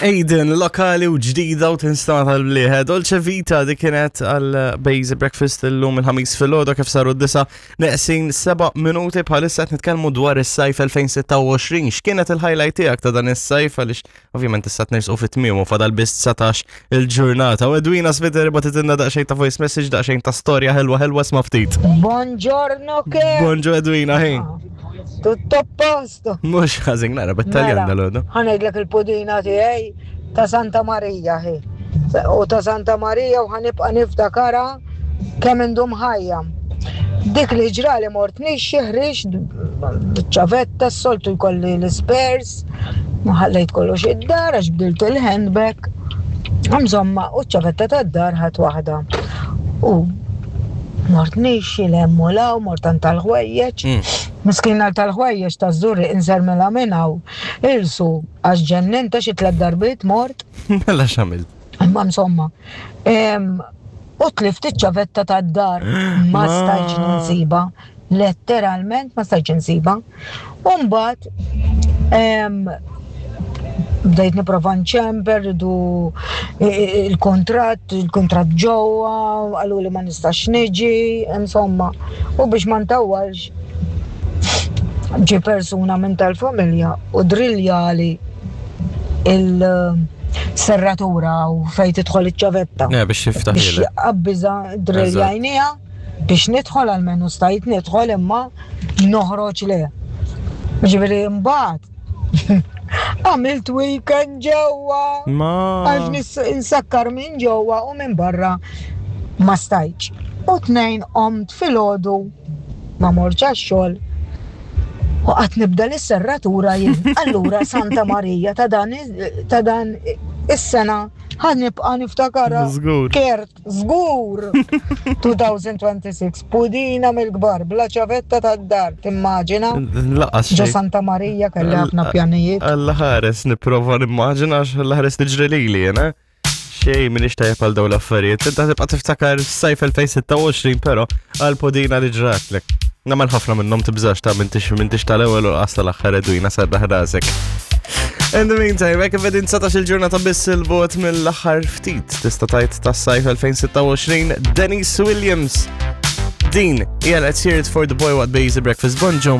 Aiden, lokali u ġdida u tinstama tal-bliħe. Dolce Vita di kienet għal Basic Breakfast illum il-ħamis fil-ħodu kif saru d-disa neqsin 7 minuti bħalissa qed nitkellmu dwar is-sajf 2026. X'kienet il-highlight tiegħek ta' dan is-sajf għaliex ovvjament issa tnersqu fit-tmiem u fadal biss 19 il-ġurnata. U Edwina Sviter bagħtitilna daqsxejn ta' voice message, daqsxejn ta' storja ħelwa ħelwa sma' ftit. Buongiorno che. Bonġu Edwina, ħin. Tutto a posto. Mhux ħażin nara bit-Taljan Mela, dal-għodu. Ħa ngħidlek il-pudina tiegħi ta' Santa Marija hi. U ta' Santa Marija u ħa nibqa' niftakarha kemm indum ħajja. Dik li ġrali mort nixxi ħriġt ċavetta s-soltu jkolli l-ispers, ma ħallejt kollox id-dar għax bdilt il-handbag. Insomma, u ċ-ċavetta tad-dar ħadd waħda. U mort nixxi l-hemm u law, mort għand tal-ħwejjeġ. Miskina tal-ħwejjeġ taż-Żurrieq insermilha minn hawn. Irsu, għax ġenninta xi tlett darbiet mort. Mela x'għamilt? Imma insomma. U tlift iċ-ċavetta tad-dar ma stajtx ninsiba. Letteralment ma stajtx insiba. U mbagħad bdejt nipprova nċemper, ridu il-kuntratt, il-kuntratt ġewwa, qaluli ma nistax niġi, insomma. U biex ma ntawwalx, ġie persuna minn tal-familja u drilljali il-serratura u fejn tidħol iċ-ċavetta. Eh, biex tiftaħ Biex qabbiża drilljajniha biex nidħol għalmenu stajt nidħol imma noħroġ le. Ġifieri mbagħad għamilt weekend ġewwa. Ma. Għax nsakkar minn ġewwa u minn barra ma stajtx. U tnejn qomt filgħodu ma mortx għax-xogħol u qatt nibda l-serratura jien. Allura Santa Marija ta' dan ta' dan is-sena ħa nibqa' niftakarha. Żgur. Kert, żgur. 2026 pudina mill-kbar bla ċavetta tad-dar, timmaġina? Laqas Ġo xejn. Santa Marija kelli ħafna pjanijiet. Alla ħares nipprova nimmaġina għax alla ħares tiġri lili jena. Xej, minix tajjeb għal dawn l-affarijiet. Inta tibqa' tiftakar sajf 2026, però għal podina li ġratlek. Namel ħafna minnhom tibżax ta' mintix mintix tal-ewwel u qas tal-aħħar edwina sarraħ rasek. In the meantime, hekk qegħdin 19 il-ġurnata biss il-bot mill-aħħar ftit tista' tajt tas-sajf 2026 Dennis Williams. Din hija Let's Hear It for the Boy What Bays Breakfast Bonġo.